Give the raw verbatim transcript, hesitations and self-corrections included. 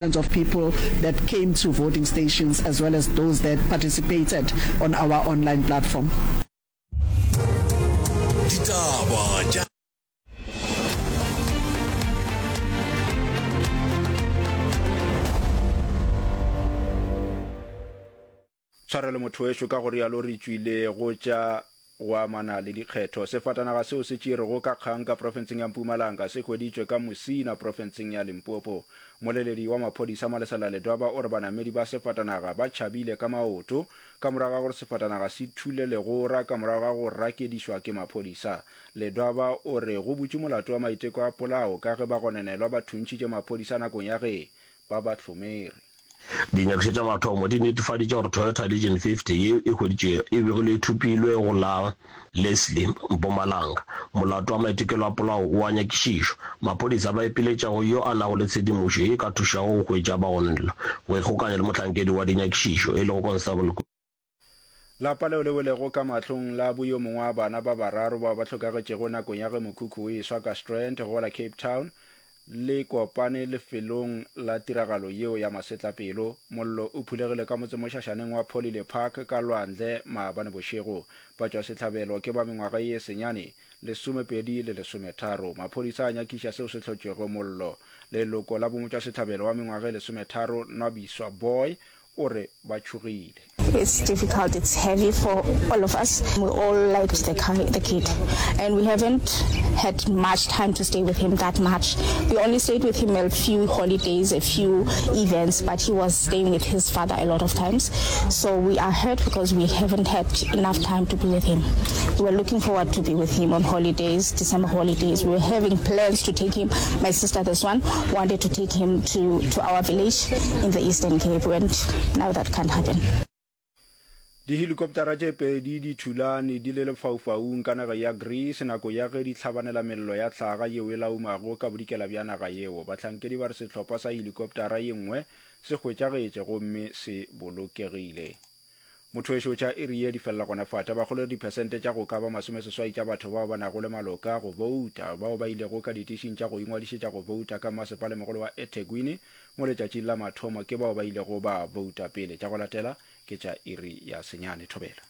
Of people that came to voting stations as well as those that participated on our online platform. Ditaba tša. Tshwarelo motho wešo, ka go rialo re tšwile go tša go amana le dikgetho. Sefatanaga seo se tšerwego ka kgang ka profenseng ya Mpumalanga se hweditšwe ka Musina profenseng ya Limpopo. Mmoleledi wa maphodisa Malesela Ledwaba o re banamedi ba sefatanaga ba tšhabile ka maoto ka morago ga gore sefatanaga se thule legora ka morago ga go rakedišwa ke maphodisa. Ledwaba o re go butšwe molato wa maiteko a polao ka ge bagononelwa ba thuntšhitše maphodisa nakong ya ge ba ba hlomere. Dinyakišišo tša mathomo di netefaditše gore Toyota Legion fifty yeo e hweditšwego e begilwe e thopilwe go la Leslie, Mpumalanga. Molato wa maitekelo a polao o a nyakišišwa. Maphodisa ba ipiletša go yo a nago le tshedimošo ye e ka thušago go hwetša bagononelwa go ikgokanya le mohlankedi wa dinyakišišo e lego Constable Lapa leo le welego ka mahlong la bo yo mongwe wa bana ba bararo bao ba hlokagetšego nakong ya ge mokhukhu o eswa ka Strand go la Cape Town le kopane lefelong la tiragalo yeo ya masetlapelo. Mollo o phulegile ka motsemošašaneng wa Polile Park ka lwandle maabane bošego. Batšwasehlabelo ke ba mengwaga ye senyane, lesomepedi le lesometharo. Maphodisa a nyakiša seo se hlotšego mollo. Leloko la bomotšwasehlabelo wa mengwaga e lesometharo, Nwabiswa Boy, o re ba tšhogile. It's difficult, it's heavy for all of us. We all liked the, the kid and we haven't had much time to stay with him that much. We only stayed with him a few holidays, a few events, but he was staying with his father a lot of times. So we are hurt because we haven't had enough time to be with him. We were looking forward to be with him on holidays, December holidays. We were having plans to take him. My sister, this one, wanted to take him to, to our village in the Eastern Cape, and now that can't happen. Dihelikoptara tše pedi di thulane di le lefaufaung ka naga ya Greece nako ya ge di hlabanela mello ya hlaga yeo e laumago ka bodikela bja naga yeo. Bahlankedi ba re sehlopha sa helikoptara ye nngwe se hwetšagetše gomme se bolokegile. Motho wešo tša iri ye di felela gona fa. Tabakgolo e re diphesente tša go ka ba masomeseswai tša batho bao ba nago le maloka a go bouta bao ba ilego ka ditišing tša go ingwadišetša go bouta ka Mmasepalemogolo wa eThekwini mo letšatšing la mathomo ke bao ba ilego ba bouta pele. Tša go latela ke tša iri ya senyane. Thobela.